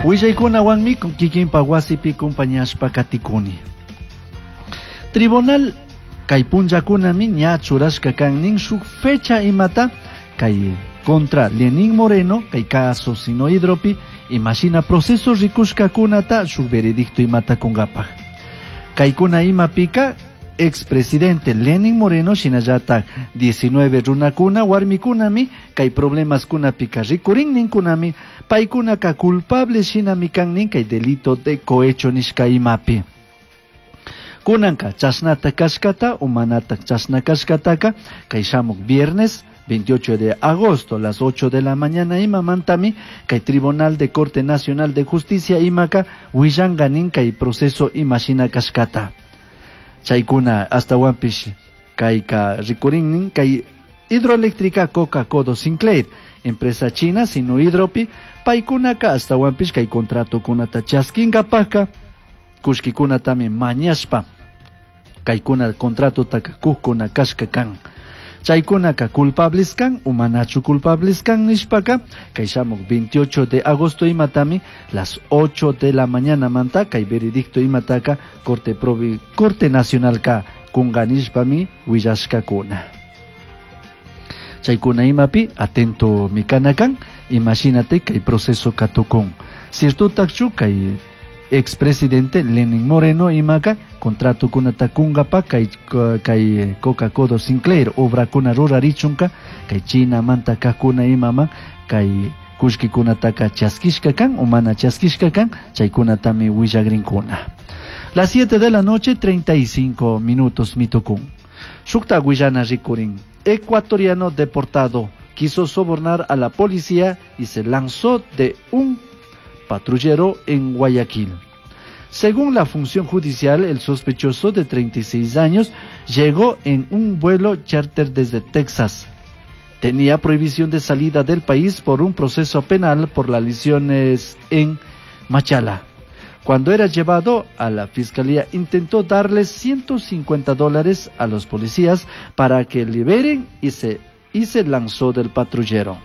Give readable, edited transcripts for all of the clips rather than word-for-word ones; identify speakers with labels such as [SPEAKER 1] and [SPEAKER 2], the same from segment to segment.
[SPEAKER 1] Willaykunawanmi kikinpa wasipi kumpañashpa katikuni. Tribunal kay punllakunami ña churashka kan nin shuk fecha imata kay contra Lenín Moreno kay caso Sinohidropi imashina proceso rikushkakunata shuk veredicto imata kunkapaj. Kaykuna imapika expresidente Lenin Moreno shinallatak 19 runakuna warmikunami kay problemaskunapika rikurin ninkunami paykunaka culpable shinami kan nin kay delito de cohecho nishka imapi. Kunanka chashnata kashkata o manata chashna kashkataka kay shamuk viernes 28 de agosto las 8 de la mañana imamantami kay Tribunal de Corte Nacional de Justicia imaka willanka nin kay proceso imashina kashkata. Chaykuna astawanpish kayka rikurin nin kay Hidroeléctrica Coca Codo Sinclair, empresa china Sinohidropi, paykunaka astawanpish kay contratokunata chaskinkapajka kullkikunatami mañashpa kaykuna contratotaka kujkuna kashka kan. Chaykunaka culpables kan o manachu culpables kan nishpaka kay shamuk 28 de agosto imatami las 8 de la mañana manta kay veredicto imataka Corte Provi Corte Nacional ka kunga nishpami willashkakuna. Chaykuna imapi atento mikanakan imagínate kay proceso katukun. Cierto kay expresidente Lenin Moreno imaka contrato kunata kunkapa kay kay Coca Codo Sinclair obrakuna rurarichunka kay China manta kajkuna imama kay kullkikunataka chaskishka kan o mana chaskishka kan chaykunatami willagrinkuna. Las 7 de la noche 35 minutos mitukun. Shukta willana rikurin. Ecuatoriano deportado quiso sobornar a la policía y se lanzó de un patrullero en Guayaquil. Según la función judicial, el sospechoso de 36 años llegó en un vuelo charter desde Texas. Tenía prohibición de salida del país por un proceso penal por las lesiones en Machala. Cuando era llevado a la fiscalía, intentó darles $150 a los policías para que liberen y se lanzó del patrullero.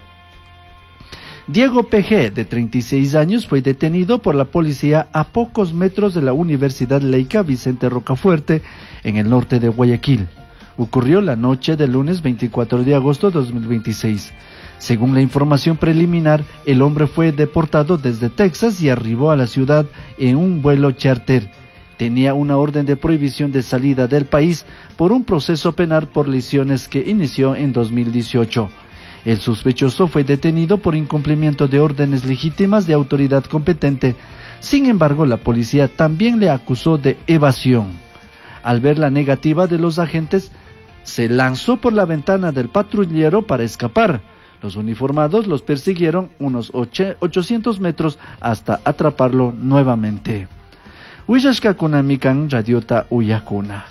[SPEAKER 1] Diego PG, de 36 años, fue detenido por la policía a pocos metros de la Universidad Laica Vicente Rocafuerte, en el norte de Guayaquil. Ocurrió la noche del lunes 24 de agosto de 2026. Según la información preliminar, el hombre fue deportado desde Texas y arribó a la ciudad en un vuelo charter. Tenía una orden de prohibición de salida del país por un proceso penal por lesiones que inició en 2018. El sospechoso fue detenido por incumplimiento de órdenes legítimas de autoridad competente. Sin embargo, la policía también le acusó de evasión. Al ver la negativa de los agentes, se lanzó por la ventana del patrullero para escapar. Los uniformados los persiguieron unos 800 metros hasta atraparlo nuevamente. Willashkakunamikan radiota uyakuna.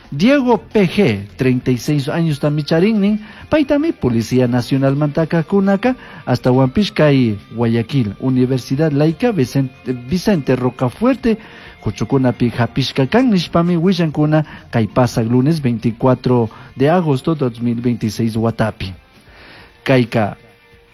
[SPEAKER 1] Diego PG, 36 años tamicharinnin, paytami Policía Nacional mantaka kunaka, hasta Huampishkay, Guayaquil, Universidad Laica Vicente Rocafuerte, Kuchukunapi hapishkakan nishpami willankuna kay pasak lunes 24 de agosto 2026 watapi. Kayka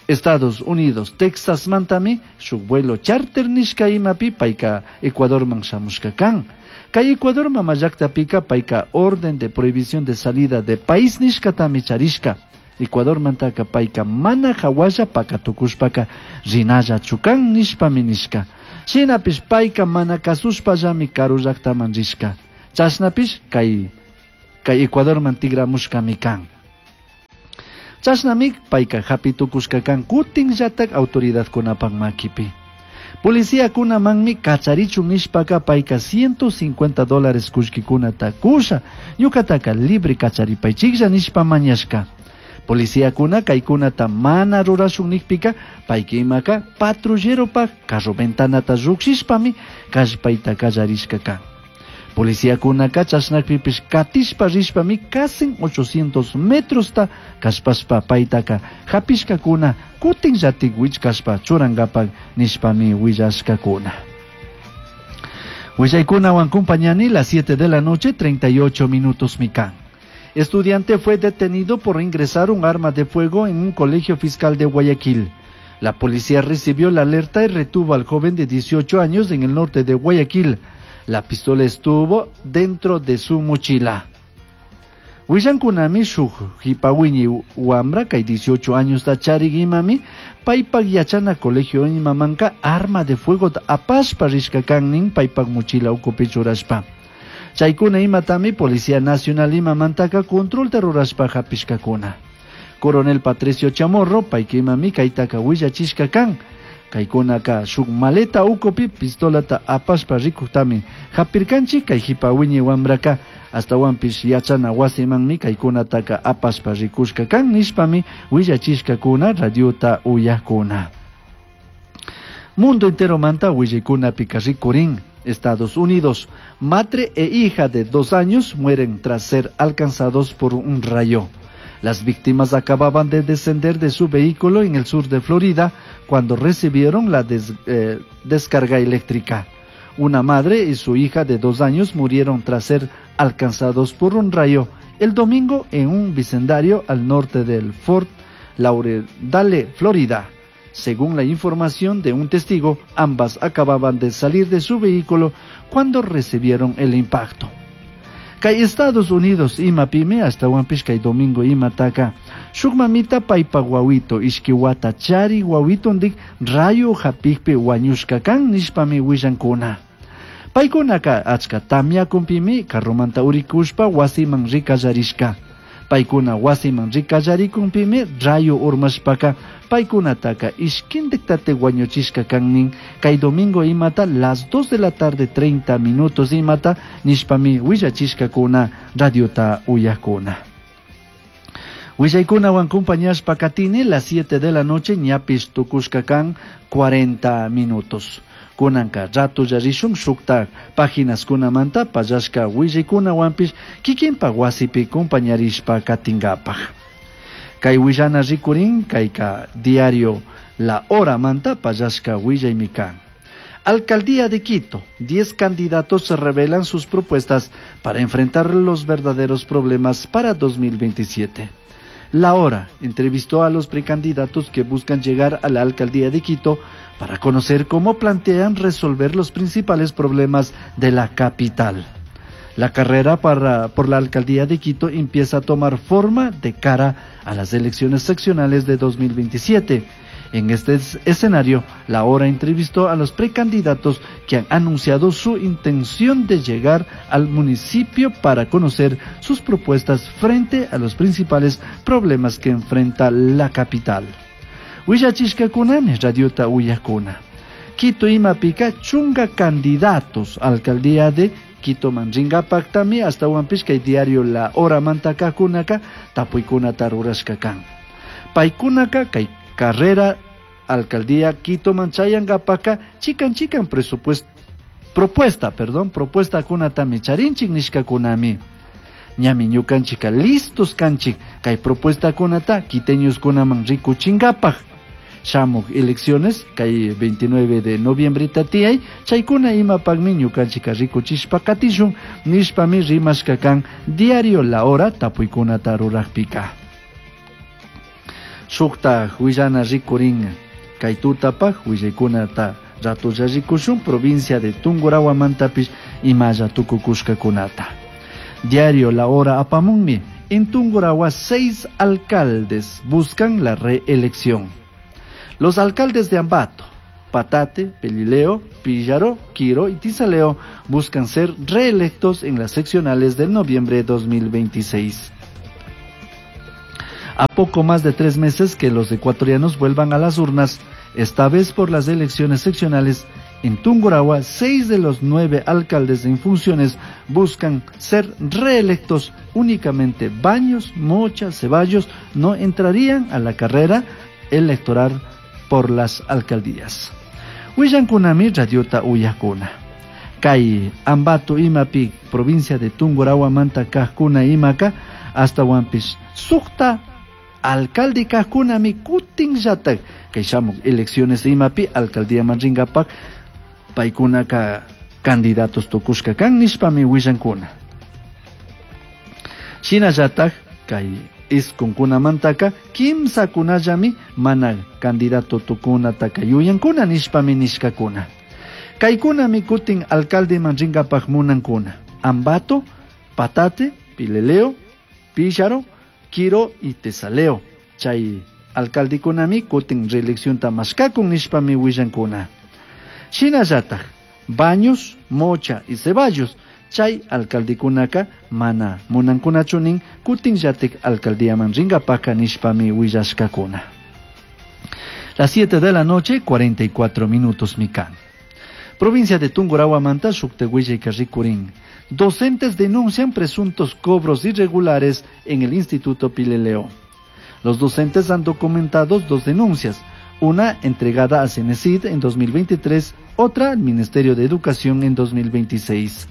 [SPEAKER 1] Estados Unidos, Texas mantami, shuk vuelo charter nishka imapi payka Ecuador man shamushka kan. Kay Ecuador mama llaktapika payka orden de prohibición de salida de país nishkatami charishka. Ecuador mantaka payka mana hawalla pakatukushpaka rinalla chukan nishpami nishka. Shinapish payka mana kasushpallami karu llaktaman rishka. Chashnapish kay Ecuador man tigramushkami kan. Chashnami payka hapitukushka kan kutinllatak autoridadkunapak makipi. Policía kunamanmi kacharichun nishpaka payka $150 kullkikunata kusha, ñukataka libre kacharipaychiklla nishpa mañashka. Policía kuna kaykunata mana rurashun nikpika payka imaka patrulleropak carro ventanata llukshishpami kallpayta kallarishka kan. Policía kunaka chashnakpipish katishpa rishpami casi 800 metrosta kallpashpa paytaka hapishkakuna kutinllatik wichkashpa churankapak nishpami willashkakuna. Willaykunawan kumpañani las 7 de la noche 38 minutos mikan. Estudiante fue detenido por ingresar un arma de fuego en un colegio fiscal de Guayaquil. La policía recibió la alerta y retuvo al joven de 18 años en el norte de Guayaquil. La pistola estuvo dentro de su mochila. Willankunami shuk jipawiñi wamra kay 18 años charik imami paypak yachana colegio imamanka arma de fuego apashpa rishka kan paypak mochila ukupi churashpa. Chaykuna imatami Policía Nacional imamantaka controlta rurashpa hapishkakuna. Coronel Patricio Chamorro payka imami kaytaka willachishka kan. Kaykunaka shuk maleta ukupi pistolata apashpa rikuktami hapirkanchik kay jipawiñi wamraka astawanpish yachana wasimanmi kaykunataka apashpa rikushka kan nishpami willachishkakuna radiota uyakuna. Mundo entero manta willaykunapika rikurin. Estados Unidos, madre e hija de 2 años mueren tras ser alcanzados por un rayo. Las víctimas acababan de descender de su vehículo en el sur de Florida cuando recibieron la descarga eléctrica. Una madre y su hija de 2 años murieron tras ser alcanzados por un rayo el domingo en un vecindario al norte del Fort Lauderdale, Florida. Según la información de un testigo, ambas acababan de salir de su vehículo cuando recibieron el impacto. Kay Estados Unidos imapimi astawanpish kay domingo imataka shuk mamita paypa wawito ishki wata chari wawitondik rayo hapikpi wañushka kan nishpami willankuna. Paykunaka achka tamyakunpimi carromanta urikushpa wasiman rikallarishka. Paykuna wasiman rikallarikumpimi rayo urmashpaka paykunataka ishkintiktate wañuchishka kannin kay domingo imata las 2 de la tarde 30 minutos imata nishpami willachishkakuna radiota uyakuna. Willaykunawan compañashpa katini las 7 de la noche ñapish tukushka kan 40 minutos. Kunanka rato yarishun shukta páginas kunamanta pallashka willaykunawanpish kikinpa wasipi compañarishpa katingapaj. Kay willana rikurin kayka diario La Hora manta pallashka willaymi kan. Alcaldía de Quito, 10 candidatos revelan sus propuestas para enfrentar los verdaderos problemas para 2027. La Hora entrevistó a los precandidatos que buscan llegar a la alcaldía de Quito para conocer cómo plantean resolver los principales problemas de la capital. La carrera por la alcaldía de Quito empieza a tomar forma de cara a las elecciones seccionales de 2027. En este escenario, La Hora entrevistó a los precandidatos que han anunciado su intención de llegar al municipio para conocer sus propuestas frente a los principales problemas que enfrenta la capital. Willachishkakunami radiota uyakuna. Quito imapika chunga candidatos alcaldía de Quito manringapaktami astawanpish kay diario La Hora mantakakunaka tapuykunata rurashka kan. Paykunaka kay carrera alcaldía Quito manchayangapaka chikan chikan propuesta kunatami charinchik nishkakunami. Ñami ñukanchika listos kanchik kay propuesta kunata quiteños kunaman rikuchinkapaj. Shamuk elecciones kay 29 de noviembre tatiyay chaykuna imapakmi ñukanchika rikuchishpa katishun nishpami rimashka kan diario La Hora tapuykunata rurakpika. Shukta willana rikurin kay tutapaj willaykunata ratulla rikushun provincia de Tungurahua mantapish imalla tukukushkakunata. Diario La Hora apamunmi en Tungurahua 6 alcaldes buscan la reelección. Los alcaldes de Ambato, Patate, Pelileo, Píllaro, Quiro y Tisaleo buscan ser reelectos en las seccionales del noviembre de 2026. A poco más de 3 meses que los ecuatorianos vuelvan a las urnas, esta vez por las elecciones seccionales, en Tungurahua, 6 de los 9 alcaldes en funciones buscan ser reelectos. Únicamente Baños, Mocha, Ceballos no entrarían a la carrera electoral por las alcaldías. Willankunami radiota uyakuna. Kay Ambato imapi provincia de Tungurahua manta kajkuna imaka hasta wampis sukta alcalde kajkunami kutinllatak kay shamuk elecciones imapi alcaldía manringapak paykunaka candidatos tukushka kan nishpami willankuna. Shinallatak kay Isqunkunamantaka kimsakunallami mana candidato tukunataka yuyankuna nishpami nishkakuna. Kaykunami kutin alcaldeman rinkapaq munankuna. Ambato, Patate, Pelileo, Píllaro, Quiro y Tesaleo. Chay alcaldekunami kutin reeleccionta mashkakun nishpami willankuna. Shinallataj, Baños, Mocha y Ceballos, chay alcaldekunaka mana munankunachu nin kutinllatik alcaldíaman rinkapaka nishpami willashkakuna. Las 7 de la noche, 44 minutos mikan. Provincia de Tungurahua-manta, shukta willayka rikurin. Docentes denuncian presuntos cobros irregulares en el Instituto Pelileo. Los docentes han documentado dos denuncias, una entregada a Senescyt en 2023, otra al Ministerio de Educación en 2026.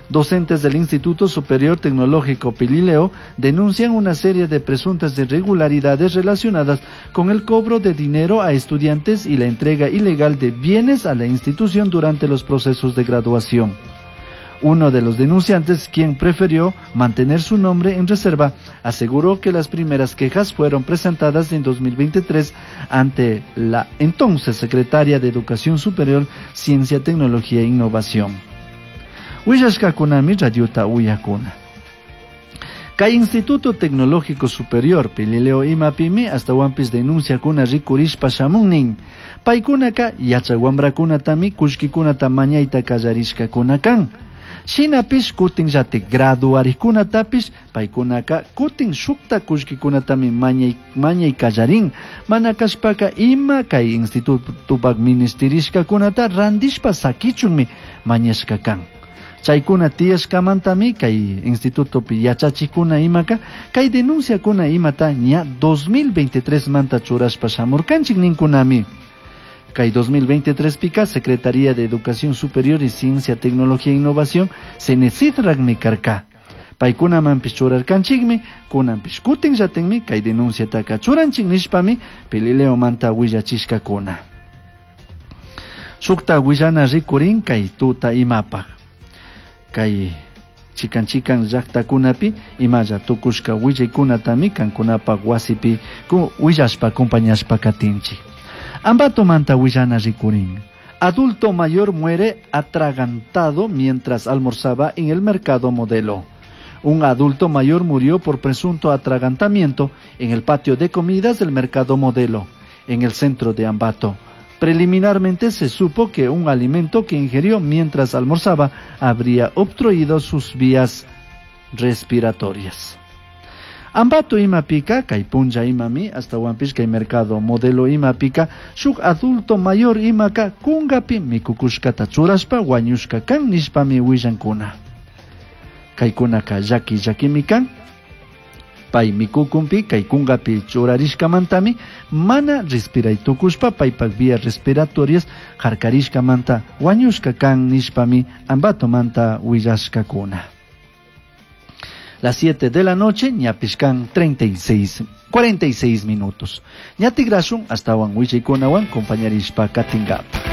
[SPEAKER 1] Docentes del Instituto Superior Tecnológico Pelileo denuncian una serie de presuntas irregularidades relacionadas con el cobro de dinero a estudiantes y la entrega ilegal de bienes a la institución durante los procesos de graduación. Uno de los denunciantes, quien prefirió mantener su nombre en reserva, aseguró que las primeras quejas fueron presentadas en 2023 ante la entonces secretaria de Educación Superior, Ciencia, Tecnología e Innovación. Willashkakunami radiota uyakuna. Kay Instituto Tecnológico Superior Pelileo imapimi ashtahuanpish denunciakuna rikurishpa shamun nin. Paykunaka yachak wambrakunatami kullkikunata mañayta kallarishkakuna kan. Shinapish kutinllatik graduarikkunatapish paykunaka kutin shukta kullkikunatami mañay kallarin. Mana kashpaka ima kay institutopak ministerishkakunata randishpa sakichunmi mañashka kan. Chaykuna tiyashkamantami kay institutopi yachachikuna imaka kay denunciakuna imata ña 2023 manta churashpa shamurkanchik ninkunami. Kay 2023 pika Secretaría de Educación Superior y Ciencia, Tecnología e Innovación Senescytrakmi karka. Paykunamanpish churarkanchikmi, kunanpish kutinllatikmi kay denunciataka churanchik nishpami Pelileomanta willachishkakuna. Shukta willana rikurin kay tuta imapaj. Kay chikan chikan llaktakunapi imalla tukushka willaykunatami kankunapak wasipi willashpa acompañashpa katinchik. Ambatomanta willana rikurin. Adulto mayor muere atragantado mientras almorzaba en el mercado Modelo. Un adulto mayor murió por presunto atragantamiento en el patio de comidas del mercado Modelo, en el centro de Ambato. Preliminarmente se supo que un alimento que ingirió mientras almorzaba habría obstruido sus vías respiratorias. Ambato imapika, kay punlla imami, ashtahuanpish kay mercado Modelo imapika, shuk adulto mayor imaka kungapi mikukushkata churashpa wañushka kan nishpami willankuna. Kaykunaka llaki llakimi kan, pay mikukunpi kay kungapi churarishkamantami mana respiray tukushpa paypak vías respiratorias harkarishkamanta wañushka kan nishpami Ambatomanta willashkakuna. Las 7 de la noche, ñapishkan 46 minutos. Ña tigrashun ashtawan willaykunawan compañarishpa katingapa.